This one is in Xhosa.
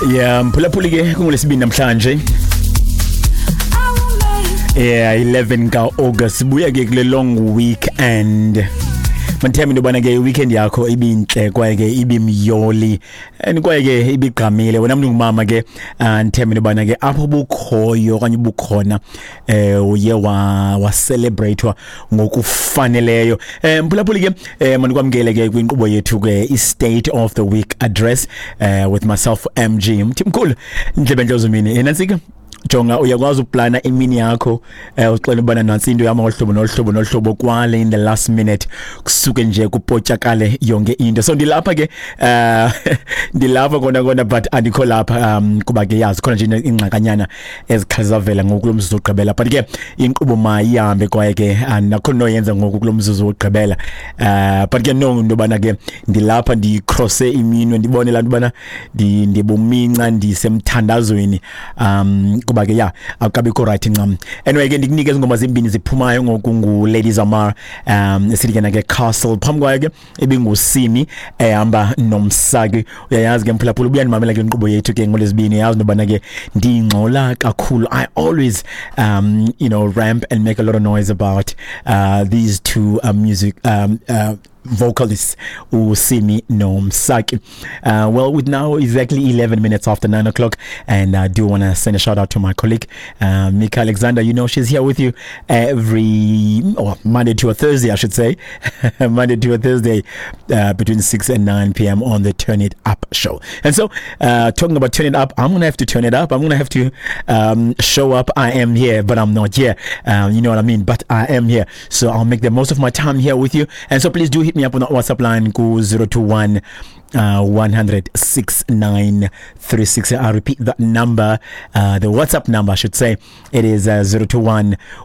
Yeah, mphulaphuli ke, kungolesibini namhlanje. Yeah, 11 ka-August. Buya ke kule long weekend. Mandithembe into yobana ke iweekend yakho ibintle kwaye ke ibimyoli and kwaye ke ibigqamile. Wena mntu ngumama ke, ndithembe into yobana ke apho bukhoyo okanye ubukhona uye wa celebratewa ngokufaneleyo. Mphulaphuli ke, mandikwamkele ke kwinkqubo yethu ke, i-State of the Week Address, with myself, MG Mthimkhulu, ndlebe ntlozumini enantsika. Jonga, uyakwazi uplana imini yakho, uxela ubana nantsi into yam ngohlobo nohlobo nohlobo, kwale in the last minute kusuke nje kupotyakale yonke into. So ndilapha ke, ndilapha kona kona, but andikho lapha kuba ke yazi khona nje ingxakanyana ezikhali zavela ngoku kulo mzuzu wokugqibela. But ke inkqubo mayihambe kwaye ke andinakho noyenza ngoku kulo mzuzu wokugqibela. But ke no, into yobana ke ndilapha, ndicrosse iminwe, ndibone laa nto ubana ndibuminca, ndisemthandazweni, kuba ke ya akukabikho right ncam. Anyway ke, ndikunike ezi ngoma zimbini ziphumayo ngoku. Ngu-Lady Zamar, esithi ke ke Castle. Phambi kwayo ke ibinguSimi ehamba noMsaki. Uyayazi ke mphulaphula, ubuyandimamela ke inkqubo yethu ke ngolwezibini, yazi nobana ke ndingxola kakhulu. I always ramp and make a lot of noise about these two music vocalists, uSimi noMsaki. Well, with now exactly 11 minutes after 9 o'clock, and I do want to send a shout out to my colleague, Mika Alexander. You know she's here with you every, or Monday to a Thursday, I should say, Monday to a Thursday, between 6 and 9 p.m. on the Turn It Up show. And so, talking about turn it up, I'm going to have to turn it up. I'm going to have to show up. I am here, but I'm not here. You know what I mean? But I am here. So I'll make the most of my time here with you. And so please do hit me up on the WhatsApp line, go 021 100 6936. I'll repeat that number, the WhatsApp number, I should say. It is 021